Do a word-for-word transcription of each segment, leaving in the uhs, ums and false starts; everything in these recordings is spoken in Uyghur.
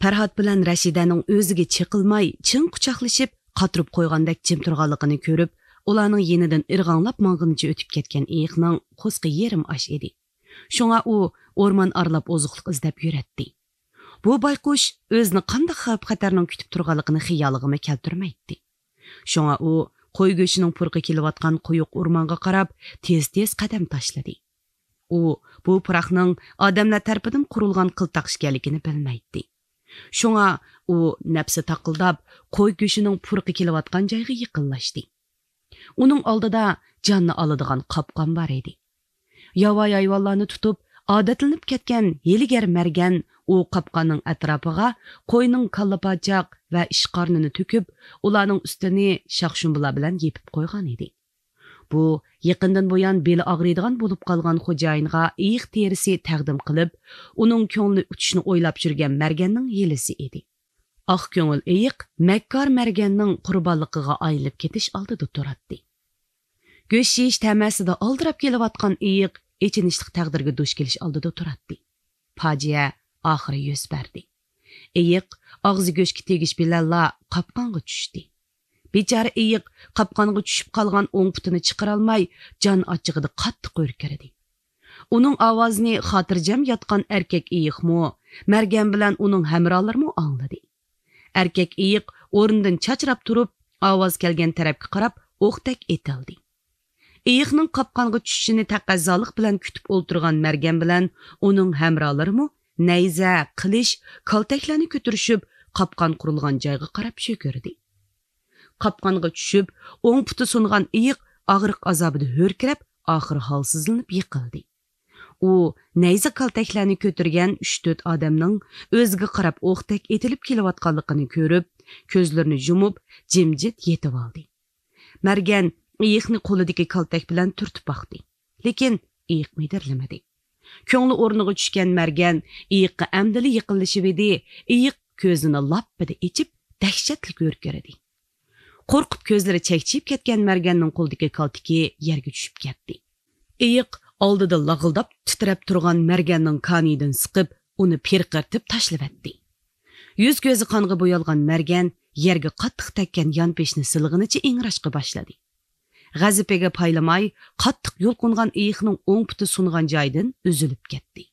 پەرھات بىلەن رەشىدەنىڭ ئۆزىگە چېقىلماي، چىڭ قۇچاقلىشىپ، قاتۇرۇپ قويغاندەك جىم تۇرغانلىقىنى كۆرۈپ، ئۇلارنىڭ يېنىدىن ئىرغاڭلاپ ماڭغىنىچە ئۆتۈپ كەتكەن ئېيىقنىڭ قورسىقى يېرىم ئاچ ئىدى. شۇڭا ئۇ ئورمان ئارىلاپ ئوزۇقلۇق ئىزدەپ يۈرەتتى. بۇ بايقۇش ئۆزىنى قانداق خەۋپ-خەتەرنىڭ كۈتۈپ تۇرغانلىقىنى خىيالىغىمۇ كەلتۈرمەيتتى. شۇڭا ئۇ قوي گۆشىنىڭ پۇرىقى كېلىۋاتقان قويۇق ئورمانغا قاراپ تېز-تېز قەدەم تاشلىدى. ئۇ بۇ پۇراقنىڭ ئادەملەر تەرىپىدىن قۇرۇلغان قىلتاق ئىكەنلىكىنى بىلمەيتتى. شۇڭا ئۇ نەپسى تاقىلداپ، قوي گۆشىنىڭ پۇرىقى كېلىۋاتقان جايغا يېقىنلاشتى. ئۇنىڭ ئالدىدا جاننى ئالىدىغان قاپقان بار ئىدى. ياۋايى ھايۋانلارنى تۇتۇپ، ئادەتلىنىپ كەتكەن ھىيلىگەر مەرگەن ئۇ قاپقاننىڭ ئەتراپىغا قوينىڭ كاللا پاچاق ۋە ئىچ قارنىنى تۆكۈپ، ئۇلارنىڭ ئۈستىنى شاخشۇمبىلار بىلەن يېپىپ قويغان ئىدى. بۇ يېقىندىن بۇيان بېلى ئاغرىيدىغان بولۇپ قالغان خوجايىنغا ئېيىق تېرىسى تەقدىم قىلىپ، ئۇنىڭ كۆڭلىنى ئۇتۇشنى ئويلاپ يۈرگەن مەرگەننىڭ ھىيلىسى ئىدى. ئاق كۆڭۈل ئېيىق مەككار مەرگەننىڭ قۇربانلىقىغا ئايلىنىپ كېتىش ئالدىدا تۇراتتى. گۆش يېيىش تەمەسىدە ئالدىراپ كېلىۋاتقان ئېيىق ئېچىنىشلىق تەقدىرگە دۇچ كېلىش ئالدىدا تۇراتتى. پاجىئە ئاخىرى يۈز بەردى. ئېيىق ئاغزى گۆشكە تېگىش بىلەنلا قاپقانغا چۈشتى. بىچارە ئېيىق قاپقانغا چۈشۈپ قالغان ئوڭ پۇتىنى چىقىرالماي، جان ئاچچىقىدا قاتتىق ھۆركىرىدى. ئۇنىڭ ئاۋازىنى خاتىرجەم ياتقان ئەركەك ئېيىقمۇ، مەرگەن بىلەن ئۇنىڭ ھەمراھلىرىمۇ ئاڭلىدى. ئەركەك ئېيىق ئورنىدىن چاچراپ تۇرۇپ، ئاۋاز كەلگەن تەرەپكە قاراپ ئوقتەك ئېتىلدى. ئېيىقنىڭ قاپقانغا چۈشۈشىنى تەقەززالىق بىلەن كۈتۈپ ئولتۇرغان مەرگەن بىلەن ئۇنىڭ ھەمراھلىرىمۇ نەيزە، قىلىچ، كالتەكلەرنى كۆتۈرۈشۈپ، قاپقان قۇرۇلغان جايغا قاراپ يۈگۈردى. قاپقانغا چۈشۈپ، ئوڭ پۇتى سۇنغان ئېيىق ئاغرىق ئازابىدا ھۆركىرەپ، ئاخىرى ھالسىزلىنىپ يىقىلدى. ئۇ نەيزە كالتەكلەرنى كۆتۈرگەن ئۈچ-تۆت ئادەمنىڭ ئۆزىگە قاراپ ئوقتەك ئېتىلىپ كېلىۋاتقانلىقىنى كۆرۈپ، كۆزلىرىنى يۇمۇپ، جىمجىت يېتىۋالدى. مەرگەن ئېيىقنى قولىدىكى كالتەك بىلەن تۈرتۈپ باقتى. لېكىن ئېيىق مىدىرلىمىدى. كۆڭلى ئورنىغا چۈشكەن مەرگەن ئېيىققا ئەمدىلا يېقىنلىشىۋىدى، ئېيىق كۆزىنى لاپپىدە ئېچىپ، دەھشەتلىك ھۆركىرىدى. قورقۇپ كۆزلىرى چەكچىيىپ كەتكەن مەرگەننىڭ قولىدىكى كالتىكى يەرگە چۈشۈپ كەتتى. ئېيىق ئالدىدا لاغىلداپ تىترەپ تۇرغان مەرگەننىڭ كانىيىدىن سىقىپ، ئۇنى پىرقىرىتىپ تاشلىۋەتتى. يۈز-كۆزى قانغا بويالغان مەرگەن يەرگە قاتتىق تەگكەن يانپېشىنى سىلىغىنىچە ئىڭراشقا باشلىدى. غەزىپىگە پايلىماي، قاتتىق يۇلقۇنغان ئېيىقنىڭ ئوڭ پۇتى سۇنغان جايىدىن ئۈزۈلۈپ كەتتى.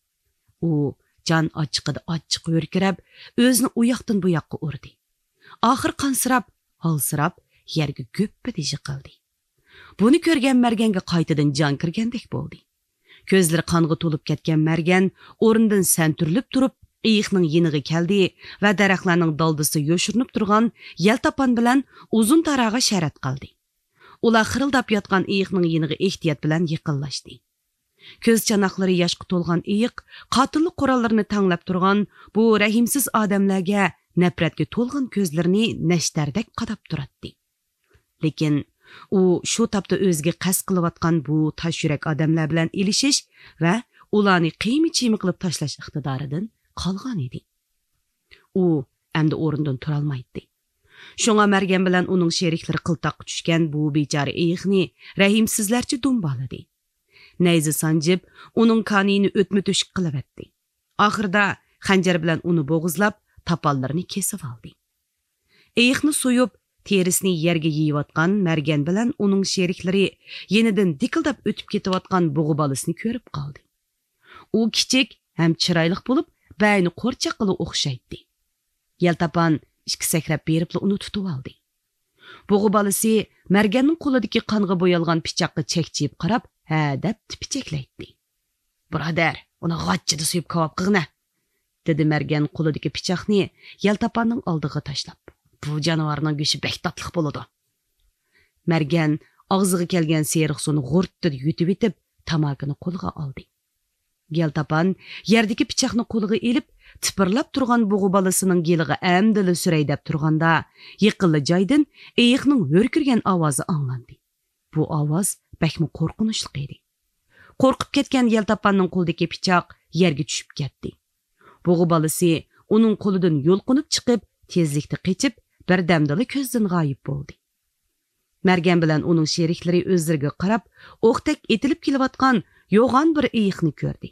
ئۇ جان ئاچچىقىدا ئاچچىق ھۆركىرەپ، ئۆزىنى ئۇ ياقتىن بۇ ياققا ئۇردى. ئاخىرى قانسىراپ، ھالسىراپ، يەرگە گۈپپىدە يىقىلدى. بۇنى كۆرگەن مەرگەنگە قايتىدىن جان كىرگەندەك بولدى. كۆزلىرى قانغا تولۇپ كەتكەن مەرگەن ئورنىدىن سەنتۈرۈلۈپ تۇرۇپ، ئېيىقنىڭ يېنىغا كەلدى ۋە دەرەخلەرنىڭ دالدىسىدا يوشۇرۇنۇپ تۇرغان يەلتاپان بىلەن ئۇزۇن تاراغا شەرەت قىلدى. ئۇلار خىرىلداپ ياتقان ئېيىقنىڭ يېنىغا ئېھتىيات بىلەن يېقىنلاشتى. كۆز چاناقلىرى ياشقا تولغان ئېيىق قاتىللىق قوراللىرىنى تەڭلەپ تۇرغان بۇ رەھىمسىز ئادەملەرگە نەپرەتكە تولغان كۆزلىرىنى نەشتەردەك قاداپ تۇراتتى. لېكىن ئۇ شۇ تاپتا ئۆزىگە قەست قىلىۋاتقان بۇ تاش يۈرەك ئادەملەر بىلەن ئېلىشىش ۋە ئۇلارنى قىيما-چىيما قىلىپ تاشلاش ئىقتىدارىدىن قالغان ئىدى. ئۇ ئەمدى ئورنىدىن تۇرالمايتتى. شۇڭا مەرگەن بىلەن ئۇنىڭ شېرىكلىرى قىلتاققا چۈشكەن بۇ بىچارە ئېيىقنى رەھىمسىزلەرچە دۇمبالىدى. نەيزە سانجىپ، ئۇنىڭ كانىيىنى ئۆتمە تۆشۈك قىلىۋەتتى. ئاخىرىدا خەنجەر بىلەن ئۇنى بوغۇزلاپ، تاپانلىرىنى كېسىۋالدى. ئېيىقنى سويۇپ، تېرىسىنى يەرگە يېيىۋاتقان مەرگەن بىلەن ئۇنىڭ شېرىكلىرى يېنىدىن دىكىلداپ ئۆتۈپ كېتىۋاتقان بۇغا بالىسىنى كۆرۈپ قالدى. ئۇ كىچىك ھەم چىرايلىق بولۇپ، بەينى قورچاققىلا ئوخشايتتى. يەلتاپان ئىككى سەكرەپ بېرىپلا ئۇنى تۇتۇۋالدى. بۇغا بالىسى مەرگەننىڭ قولىدىكى قانغا بويالغان پىچاققا چەكچىيىپ قاراپ، ھە دەپ تىپىچەكلەيتتى. بۇرادەر، ئۇنى غاچچىدا سويۇپ كاۋاپ قىلغىنە، دېدى مەرگەن قولىدىكى پىچاقنى يەلتاپاننىڭ ئالدىغا تاشلاپ. بۇ جانىۋارنىڭ گۆشى بەك تاتلىق بولىدۇ. مەرگەن ئاغزىغا كەلگەن سېرىق سۇنى غۇرتتىدە يۇتۇۋېتىپ، تاماكىنى قولىغا ئالدى. يەلتاپان يەردىكى پىچاقنى قولىغا ئېلىپ، تىپىرلاپ تۇرغان بۇغا بالىسىنىڭ گېلىغا ئەمدىلا سۈرەي دەپ تۇرغاندا، يېقىنلا جايدىن ئېيىقنىڭ ھۆركىرىگەن ئاۋازى ئاڭلاندى. بۇ ئاۋاز بەكمۇ قورقۇنچلۇق ئىدى. قورقۇپ كەتكەن يەلتاپاننىڭ قولىدىكى پىچاق يەرگە چۈشۈپ كەتتى. بۇغا بالىسى ئۇنىڭ قولىدىن يۇلقۇنۇپ چىقىپ، تېزلىكتە قېچىپ، بىردەمدىلا كۆزدىن غايىب بولدى. مەرگەن بىلەن ئۇنىڭ شېرىكلىرى ئۆزلىرىگە قاراپ، ئوقتەك ئېتىلىپ كېلىۋاتقان يوغان بىر ئېيىقنى كۆردى.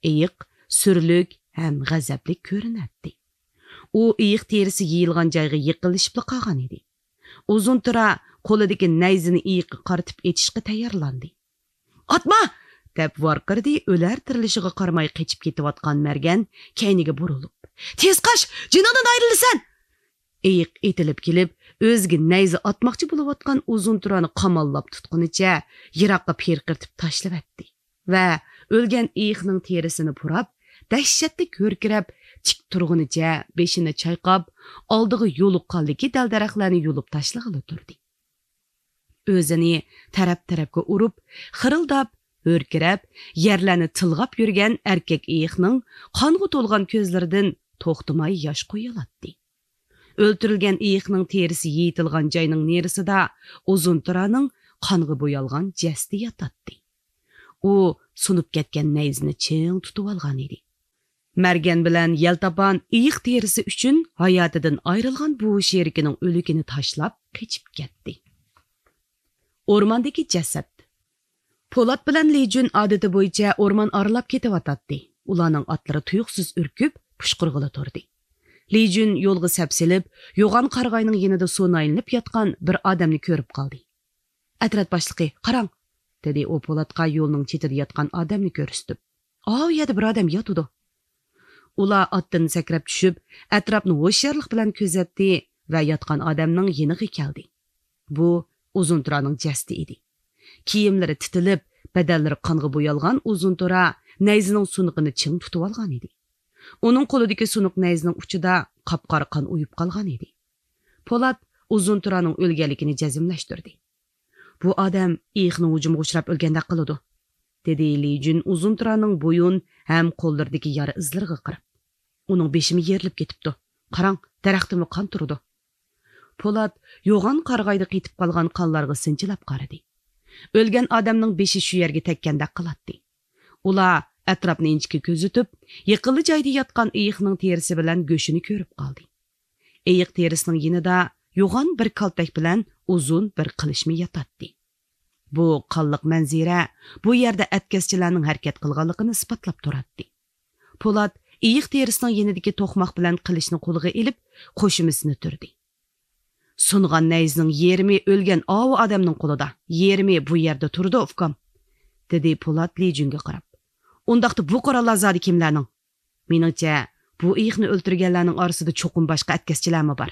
ئېيىق سۈرلۈك ھەم غەزەپلىك كۆرۈنەتتى. ئۇ ئېيىق تېرىسى يېيىلغان جايغا يېقىنلىشىپلا قالغان ئىدى. ئۇزۇن تۇرا قولىدىكى نەيزىنى ئېيىققا قارىتىپ ئېتىشقا تەييارلاندى. «ئاتما!» دەپ ۋارقىرىدى ئۆلەر تىرىلىشىغا قارىماي قېچىپ كېتىۋاتقان مەرگەن كەينىگە بۇرۇلۇپ. «تېز قاچ! جېنىڭدىن ئايرىلىسەن!» ئېيىق ئېتىلىپ كېلىپ، ئۆزىگە نەيزە ئاتماقچى بولۇۋاتقان ئۇزۇن تۇرانى قاماللاپ تۇتقىنىچە يىراققا پىرقىرىتىپ تاشلىۋەتتى ۋە ئۆلگەن ئېيىقنىڭ تېرىسىنى پۇراپ، دەھشەتلىك ھۆركىرەپ، تىك تۇرغىنىچە بېشىنى چايقاپ، ئالدىغا يولۇققانلىكى دەل-دەرەخلەرنى يۇلۇپ تاشلىغىلى تۇردى. ئۆزىنى تەرەپ-تەرەپكە ئۇرۇپ، خىرىلداپ، ھۆركىرەپ، يەرلەرنى تىلغاپ يۈرگەن ئەركەك ئېيىقنىڭ قانغا تولغان كۆزلىرىدىن توختىماي ياش قۇيۇلاتتى. ئۆلتۈرۈلگەن ئېيىقنىڭ تېرىسى يېيىتىلغان جاينىڭ نېرىسىدا ئۇزۇن تۇرانىڭ قانغا بويالغان جەسىتى ياتاتتى. ئۇ سۇنۇپ كەتكەن نەيزىنى چىڭ تۇتۇۋالغان ئىدى. مەرگەن بىلەن يەلتاپان ئېيىق تېرىسى ئۈچۈن ھاياتىدىن ئايرىلغان بوۋا شېرىكىنىڭ ئۆلۈكىنى تاشلاپ قېچىپ كەتتى. ئورماندىكى جەسەت. پولات بىلەن لىجۈن ئادىتى بويىچە ئورمان ئارىلاپ كېتىۋاتاتتى. ئۇلارنىڭ ئاتلىرى تۇيۇقسىز ئۈركۈپ، پۇشقۇرغىلى تۇردى. لىجۈن يولغا سەپسېلىپ، يوغان قارىغاينىڭ يېنىدا سۇنايلىنىپ ياتقان بىر ئادەمنى كۆرۈپ قالدى. «ئەترەت باشلىقى، قاراڭ!» دېدى ئۇ پولاتقا يولنىڭ چېتىدە ياتقان ئادەمنى كۆرسىتىپ. «ئاۋۇ يەردە بىر ئادەم ياتىدۇ.» ئۇلار ئاتتىن سەكرەپ چۈشۈپ، ئەتراپنى ھوشيارلىق بىلەن كۆزەتتى ۋە ياتقان ئادەمنىڭ يېنىغا كەلدى. بۇ ئۇزۇن تۇرانىڭ جەسىتى ئىدى. كىيىملىرى تىتىلىپ، بەدەنلىرى قانغا بويالغان ئۇزۇن تۇرا نەيزىنىڭ سۇنۇقىنى چىڭ تۇتۇۋالغان ئىدى. ئۇنىڭ قولىدىكى سۇنۇق نەيزىنىڭ ئۇچىدا قاپقارا قان ئۇيۇپ قالغان ئىدى. پولات ئۇزۇن تۇرانىڭ ئۆلگەنلىكىنى جەزملەشتۈردى. «بۇ ئادەم ئېيىقنىڭ ھۇجۇمىغا ئۇچراپ ئۆلگەندەك قىلىدۇ»، دېدى لى جۈن ئۇزۇن تۇرانىڭ بويۇن ھەم قوللىرىدىكى يارا ئىزلىرىغا قاراپ. «ئۇنىڭ بېشىمۇ يېرىلىپ كېتىپتۇ. قاراڭ، دەرەختىنمۇ قان تۇرىدۇ.» پولات يوغان قارىغايدا قېتىپ قالغان قانلارغا سىنچىلاپ قارىدى. ئۆلگەن ئادەمنىڭ بېشى شۇ يەرگە تەگكەندەك قىلاتتى. ئۇلار ئەتراپنى ئىنچىكە كۆزىتىپ، يېقىنلا جايدا ياتقان ئېيىقنىڭ تېرىسى بىلەن گۆشىنى كۆرۈپ قالدى. ئېيىق تېرىسىنىڭ يېنىدا يوغان بىر كالتەك بىلەن ئۇزۇن بىر قىلىچمۇ ياتاتتى. بۇ قانلىق مەنزىرە بۇ يەردە ئەتكەسچىلەرنىڭ ھەرىكەت قىلغانلىقىنى ئىسپاتلاپ تۇراتتى. پولات ئېيىق تېرىسىنىڭ يېنىدىكى توقماق بىلەن قىلىچنى قولىغا ئېلىپ، قوشۇمىسىنى تۈردى. «سۇنغان نەيزىنىڭ يېرىمى ئۆلگەن ئاۋۇ ئادەمنىڭ قولىدا، يېرىمى بۇ يەردە تۇرىدۇ، ئۇكام»، دېدى پولات لى جۈنگە قاراپ. «ئۇنداقتا بۇ قوراللار زادى كىملەرنىڭ؟ مېنىڭچە، بۇ ئېيىقنى ئۆلتۈرگەنلەرنىڭ ئارىسىدا چوقۇم باشقا ئەتكەسچىلەرمۇ بار.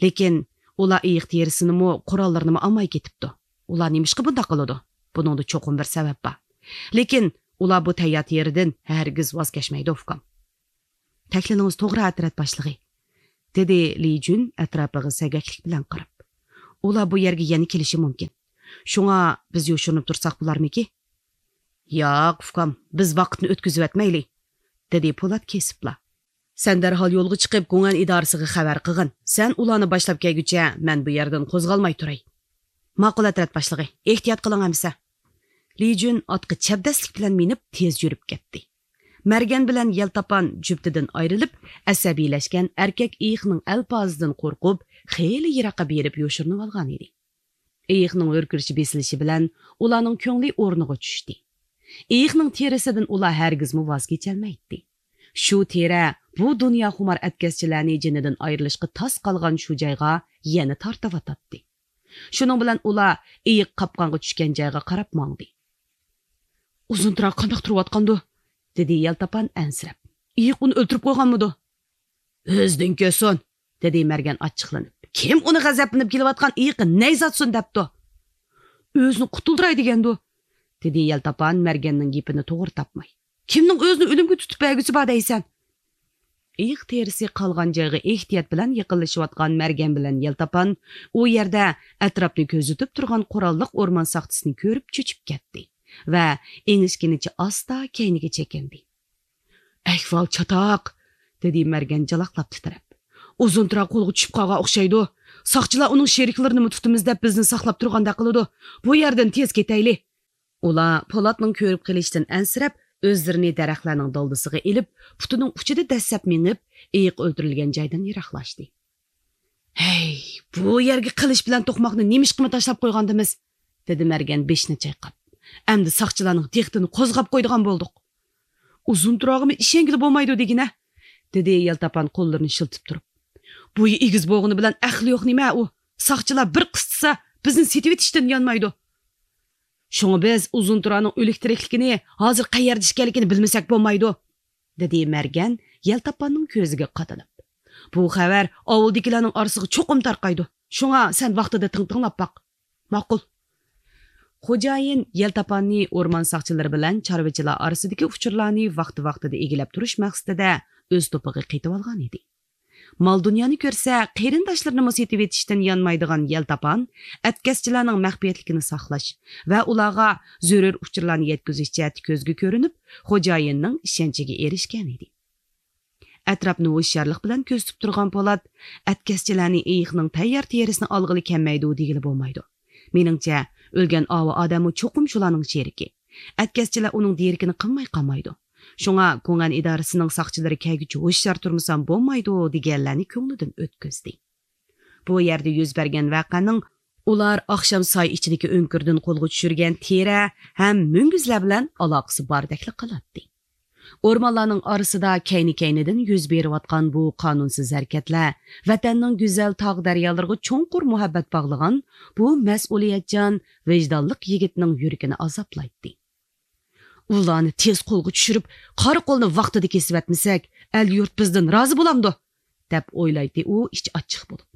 لېكىن ئۇلار ئېيىق تېرىسىنىمۇ، قوراللىرىنىمۇ ئالماي كېتىپتۇ. ئۇلار نېمىشقا بۇنداق قىلىدۇ؟ بۇنىڭدا چوقۇم بىر سەۋەب بار. لېكىن ئۇلار بۇ تەييار تېرىدىن ھەرگىز ۋاز كەچمەيدۇ، ئۇكام.» «تەكلىنىڭىز توغرا، ئەترەت باشلىقى»، دېدى لى جۈن ئەتراپىغا سەگەكلىك بىلەن قاراپ. «ئۇلار بۇ يەرگە يەنە كېلىشى مۇمكىن. شۇڭا بىز يوشۇرۇنۇپ تۇرساق بولارمىكى؟» «ياق، ئۇكام، بىز ۋاقىتنى ئۆتكۈزۈۋەتمەيلى»، دېدى پولات كېسىپلا. «سەن دەرھال يولغا چىقىپ، گۇڭئەن ئىدارىسىغا خەۋەر قىلغىن. سەن ئۇلارنى باشلاپ كەلگۈچە مەن بۇ يەردىن قوزغالماي تۇراي.» «ماقۇل، ئەترەت باشلىقى، ئېھتىيات قىلىڭ ئەمىسە.» لى جۈن ئاتقا چەبدەسلىك بىلەن مىنىپ، تېز يۈرۈپ كەتتى. مەرگەن بىلەن يەلتاپان جۈپتىدىن ئايرىلىپ، ئەسەبىيلەشكەن ئەركەك ئېيىقنىڭ ئەلپازىدىن قورقۇپ، خېلى يىراققا بېرىپ يوشۇرۇنۇۋالغان ئىدى. ئېيىقنىڭ ھۆركىرىشى بېسىلىشى بىلەن ئۇلارنىڭ كۆڭلى ئورنىغا چۈشتى. ئېيىقنىڭ تېرىسىدىن ئۇلار ھەرگىزمۇ ۋاز كېچەلمەيتتى. شۇ تېرە بۇ دۇنياخۇمار ئەتكەسچىلەرنى جېنىدىن ئايرىلىشقا تاس قالغان شۇ جايغا يەنە تارتىۋاتاتتى. شۇنىڭ بىلەن ئۇلار ئېيىق قاپقانغا چۈشكەن جايغا قاراپ ماڭدى. «ئۇزۇن تۇرا قانداق تۇرۇۋاتقاندۇ؟» دېدى يەلتاپان ئەنسىرەپ. «ئېيىق ئۇنى ئۆلتۈرۈپ قويغانمىدۇ؟» «ئۆزىدىن كۆرسۇن!» دېدى مەرگەن ئاچچىقلىنىپ. «كىم ئۇنى غەزەپلىنىپ كېلىۋاتقان ئېيىققا نەيزە ئاتسۇن دەپتۇ؟» «ئۆزىنى قۇتۇلدۇراي دېگەندۇ؟» دېدى يەلتاپان مەرگەننىڭ گېپىنى توغرا تاپماي. «كىمنىڭ ئۆزىنى ئۆلۈمگە تۇتۇپ بەرگۈسى بار دەيسەن؟» ئېيىق تېرىسى قالغان جايغا ئېھتىيات بىلەن يېقىنلىشىۋاتقان مەرگەن بىلەن يەلتاپان ئۇ يەردە ئەتراپنى كۆزىتىپ تۇرغان قوراللىق ئورمان ساقچىسىنى كۆرۈپ چۆچۈپ كەتتى ۋە ئېڭىشكىنىچە ئاستا كەينىگە چېكىندى. «ئەھۋال چاتاق!» دېدى مەرگەن جالاقلاپ تىترەپ. «ئۇزۇن تۇرا قولغا چۈشۈپ قالغان ئوخشايدۇ. ساقچىلار ئۇنىڭ شېرىكلىرىنىمۇ تۇتىمىز دەپ بىزنى ساقلاپ تۇرغاندەك قىلىدۇ. بۇ يەردىن تېز كېتەيلى.» ئۇلار پولاتنىڭ كۆرۈپ قېلىشىدىن ئەنسىرەپ، ئۆزلىرىنى دەرەخلەرنىڭ دالدىسىغا ئېلىپ، پۇتىنىڭ ئۇچىدا دەسسەپ مېڭىپ، ئېيىق ئۆلتۈرۈلگەن جايدىن يىراقلاشتى. «ھەي، بۇ يەرگە قىلىچ بىلەن توقماقنى نېمىشقىمۇ تاشلاپ قويغاندىمىز؟» دېدى مەرگەن بېشىنى چايقاپ. «ئەمدى ساقچىلارنىڭ دىققىتىنى قوزغاپ قويىدىغان بولدۇق.» «ئۇزۇن تۇراغىمۇ ئىشەنگىلى بولمايدۇ دېگىنە؟» دېدى يەلتاپان قوللىرىنى شىلتىپ تۇرۇپ. بويى ئېگىز بولغىنى بىلەن ئەقلى يوق نېمە ئۇ؟ ساقچىلار بىر قىستىسا، بىزنى سېتىۋېتىشتىن يانمايدۇ. شۇڭا بىز ئۇزۇن تۇرانىڭ ئۆلۈك تىرىكلىكىنى، ھازىر قەيەردە ئىكەنلىكىنى بىلمىسەك بولمايدۇ، دېدى مەرگەن يەلتاپاننىڭ كۆزىگە قادىلىپ. بۇ خەۋەر ئاۋۇلدىكىلەرنىڭ ئارىسىغا چوقۇم تارقايدۇ. شۇڭا سەن ۋاقتىدا تىڭ تىڭلاپ باق. ماقۇل. خوجايىن يەلتاپاننى ئورمان ساقچىلىرى بىلەن چارۋىچىلار ئارىسىدىكى ئۇچۇرلارنى ۋاقتى-ۋاقتىدا ئىگىلەپ تۇرۇش مەقسىتىدە ئۆز توپىغا قېتىۋالغان ئىدى. مال-دۇنيانى كۆرسە، قېرىنداشلىرىنىمۇ سېتىۋېتىشتىن يانمايدىغان يەلتاپان ئەتكەسچىلەرنىڭ مەخپىيەتلىكىنى ساقلاش ۋە ئۇلارغا زۆرۈر ئۇچۇرلارنى يەتكۈزۈش جەھەتتە كۆزگە كۆرۈنۈپ، خوجايىننىڭ ئىشەنچىگە ئېرىشكەن ئىدى. ئەتراپنى ھوشيارلىق بىلەن كۆزىتىپ تۇرغان پولات ئەتكەسچىلەرنى ئېيىقنىڭ تەييار تېرىسىنى ئالغىلى كەلمەيدۇ دېگىلى بولمايدۇ. مېنىڭچە، ئۆلگەن ئاۋۇ ئادەممۇ چوقۇم شۇلارنىڭ شېرىكى. ئەتكەسچىلەر ئۇنىڭ دېرىكىنى قىلماي قالمايدۇ. شۇڭا گۇڭئەن ئىدارىسىنىڭ ساقچىلىرى كەلگۈچە ھوشيار تۇرمىسام بولمايدۇ دېگەنلەرنى كۆڭلىدىن ئۆتكۈزدى. بۇ يەردە يۈز بەرگەن ۋەقەنىڭ ئۇلار ئاخشام ساي ئىچىدىكى ئۆڭكۈردىن قولغا چۈشۈرگەن تېرە ھەم مۈڭگۈزلەر بىلەن ئالاقىسى باردەكلا قىلاتتى. ئورمانلارنىڭ ئارىسىدا كەينى-كەينىدىن يۈز بېرىۋاتقان بۇ قانۇنسىز ھەرىكەتلەر ۋەتەننىڭ گۈزەل تاغ-دەريالىرىغا چوڭقۇر مۇھەببەت باغلىغان بۇ مەسئۇلىيەتچان، ۋىجدانلىق يىگىتنىڭ يۈرىكىنى ئازابلايتتى. ئۇلارنى تېز قولغا چۈشۈرۈپ، قارا قولنى ۋاقتىدا كېسىۋەتمىسەك، ئەل-يۇرت بىزدىن رازى بولامدۇ؟ دەپ ئويلايتتى ئۇ ئىچى ئاچچىق بولۇپ.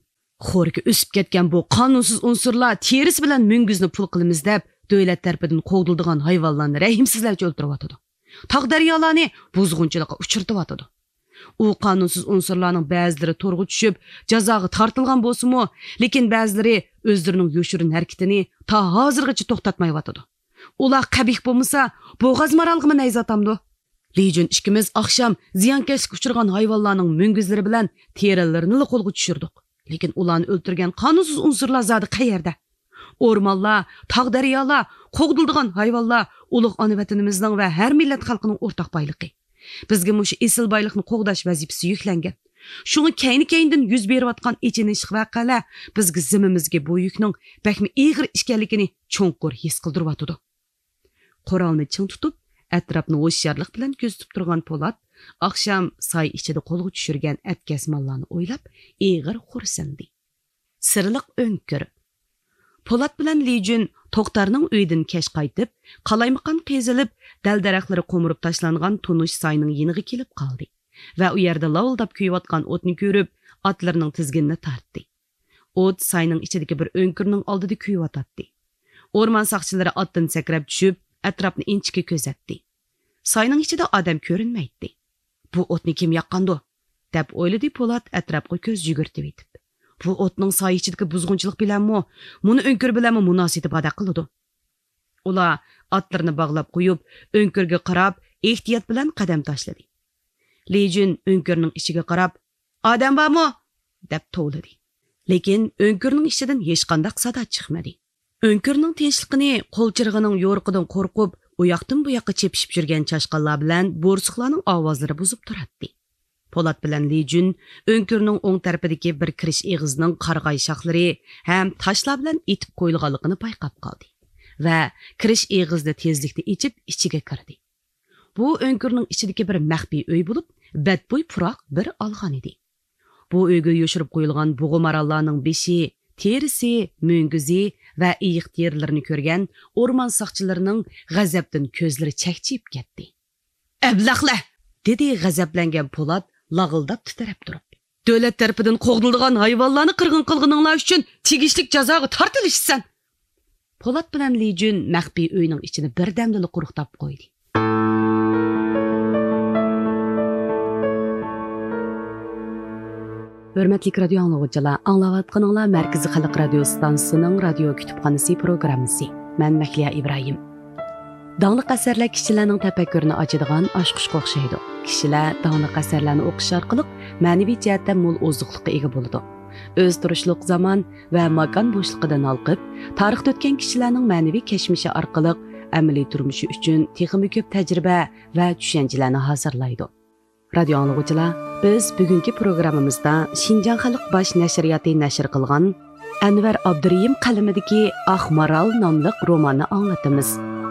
خورىكى ئۆسۈپ كەتكەن بۇ قانۇنسىز ئۇنسۇرلار تېرىسى بىلەن مۈڭگۈزنى پۇل قىلىمىز دەپ، دۆلەت تەرىپىدىن قوغدىلىدىغان ھايۋانلارنى رەھىمسىزلەرچە ئۆلتۈرۈۋاتىدۇ. تاغ-دەريالارنى بۇزغۇنچىلىققا ئۇچرىتىۋاتىدۇ. ئۇ قانۇنسىز ئۇنسۇرلارنىڭ بەزىلىرى تورغا چۈشۈپ، جازاغا تارتىلغان بولسىمۇ، لېكىن بەزىلىرى ئۆزلىرىنىڭ يوشۇرۇن ھەرىكىتىنى تا ھازىرغىچە توختاتمايۋاتىدۇ. ئۇلار قەبىھ بولمىسا، بوغاز مارالغىمۇ نەيزە ئاتامدۇ؟ لى جۈن ئىككىمىز ئاخشام زىيانكەشلىككە ئۇچرىغان ھايۋانلارنىڭ مۈڭگۈزلىرى بىلەن تېرىلىرىنىلا قولغا چۈشۈردۇق. لېكىن ئۇلارنى ئۆلتۈرگەن قانۇنسىز ئۇنسۇرلار زادى قەيەردە؟ ئورمانلار، تاغ-دەريالار، قوغدىلىدىغان ھايۋانلار ئۇلۇغ ئانا ۋەتىنىمىزنىڭ ۋە ھەر مىللەت خەلقىنىڭ ئورتاق بايلىقى. بىزگە مۇشۇ ئېسىل بايلىقنى قوغداش ۋەزىپىسى يۈكلەنگەن. شۇڭا كەينى-كەينىدىن يۈز بېرىۋاتقان ئېچىنىشلىق ۋەقەلەر بىزگە زېمىمىزگە بۇ يۈكنىڭ بەكمۇ ئېغىر ئىكەنلىكىنى چوڭقۇر ھېس قىلدۇرۇۋاتىدۇ. قورالنى چىڭ تۇتۇپ، ئەتراپنى ھوشيارلىق بىلەن كۆزىتىپ تۇرغان پولات ئاخشام ساي ئىچىدە قولغا چۈشۈرگەن ئەتكەس ماللارنى ئويلاپ، ئېغىر خورسىندى. سىرلىق ئۆڭكۈر. پولات بىلەن لى جۈن توختارنىڭ ئۆيىدىن كەچ قايتىپ، قالايمىقان قېزىلىپ، دەل-دەرەخلىرى قومۇرۇپ تاشلانغان تونۇش ساينىڭ يېنىغا كېلىپ قالدى ۋە ئۇ يەردە لاۋۇلداپ كۆيۈۋاتقان ئوتنى كۆرۈپ، ئاتلىرىنىڭ تىزگىنىنى تارتتى. ئوت ساينىڭ ئىچىدىكى بىر ئۆڭكۈرنىڭ ئالدىدا كۆيۈۋاتاتتى. ئورمان ساقچىلىرى ئاتتىن سەكرەپ چۈشۈپ، ئەتراپنى ئىنچىكە كۆزەتتى. ساينىڭ ئىچىدە ئادەم كۆرۈنمەيتتى. «بۇ ئوتنى كىم ياققاندۇ؟» دەپ ئويلىدى پولات ئەتراپقا كۆز يۈگۈرتۈۋېتىپ. «بۇ ئوتنىڭ ساي ئىچىدىكى بۇزغۇنچىلىق بىلەنمۇ، مۇنۇ ئۆڭكۈر بىلەنمۇ مۇناسىۋىتى باردەك قىلىدۇ.» ئۇلار ئاتلىرىنى باغلاپ قويۇپ، ئۆڭكۈرگە قاراپ ئېھتىيات بىلەن قەدەم تاشلىدى. لى جۈن ئۆڭكۈرنىڭ ئىچىگە قاراپ، «ئادەم بارمۇ؟» دەپ توۋلىدى. لېكىن ئۆڭكۈرنىڭ ئىچىدىن ھېچقانداق سادا چىقمىدى. ئۆڭكۈرنىڭ تىنچلىقىنى قول چىرىغىنىڭ يورۇقىدىن قورقۇپ، ئۇياقتىن بۇياققا چېپىشىپ يۈرگەن چاشقانلار بىلەن بورسۇقلارنىڭ ئاۋازلىرى بۇزۇپ تۇراتتى. پولات بىلەن لى جۈن ئۆڭكۈرنىڭ ئوڭ تەرىپىدىكى بىر كىرىش ئېغىزىنىڭ قارىغاي شاخلىرى ھەم تاشلار بىلەن ئېتىپ قويۇلغانلىقىنى بايقاپ قالدى ۋە كىرىش ئېغىزىنى تېزلىكتە ئېچىپ، ئىچىگە كىردى. بۇ ئۆڭكۈرنىڭ ئىچىدىكى بىر مەخپىي ئۆي بولۇپ، بەتبۇي پۇراق بىر ئالغان ئىدى. بۇ ئۆيگە يوشۇرۇپ قويۇلغان بۇغا ماراللارنىڭ بېشى، تېرىسى، مۈڭگۈزى ۋە ئېيىق تېرىلىرىنى كۆرگەن ئورمان ساقچىلىرىنىڭ غەزەپتىن كۆزلىرى چەكچىيىپ كەتتى. «ئەبلەخلەر!» دېدى غەزەپلەنگەن پولات لاغىلداپ تىترەپ تۇرۇپ. «دۆلەت تەرىپىدىن قوغدىلىدىغان ھايۋانلارنى قىرغىن قىلغىنىڭلار ئۈچۈن تېگىشلىك جازاغا تارتىلىسىسەن!» پولات بىلەن لى جۈن مەخپىي ئۆينىڭ ئىچىنى بىردەمدىلا قۇرۇقداپ قويدى. ھۆرمەتلىك رادىيو ئاڭلىغۇچىلار، ئاڭلاۋاتقىنىڭلار مەركىزىي خەلق رادىيو ئىستانسىسىنىڭ رادىيو كۇتۇپخانىسى پروگراممىسى. مەن مەھلىيا ئىبراھىم. داڭلىق ئەسەرلەر كىشىلەرنىڭ تەپەككۇرىنى ئاچىدىغان ئاچقۇچقا ئوخشايدۇ. كىشىلەر داڭلىق ئەسەرلەرنى ئوقۇش ئارقىلىق مەنىۋى جەھەتتە مول ئوزۇقلۇققا ئىگە بولىدۇ. ئۆزى تۇرۇشلۇق زامان ۋە ماكان بوشلۇقىدىن ھالقىپ، تارىختا ئۆتكەن كىشىلەرنىڭ مەنىۋى كەچمىشى ئارقىلىق ئەمەلىي تۇرمۇشى ئۈچۈن تېخىمۇ كۆپ تەجرىبە ۋە چۈشەنچىلەرنى ھازىرلايدۇ. رادىيو ئاڭلىغۇچىلار، بىز بۈگۈنكى پروگراممىمىزدا شىنجاڭ خەلق باش نەشرىياتى نەشر قىلغان ئەنۋەر ئابدۇرېھىم قەلىمىدىكى ئاق مارال ناملىق روماننى ئاڭلىتىمىز.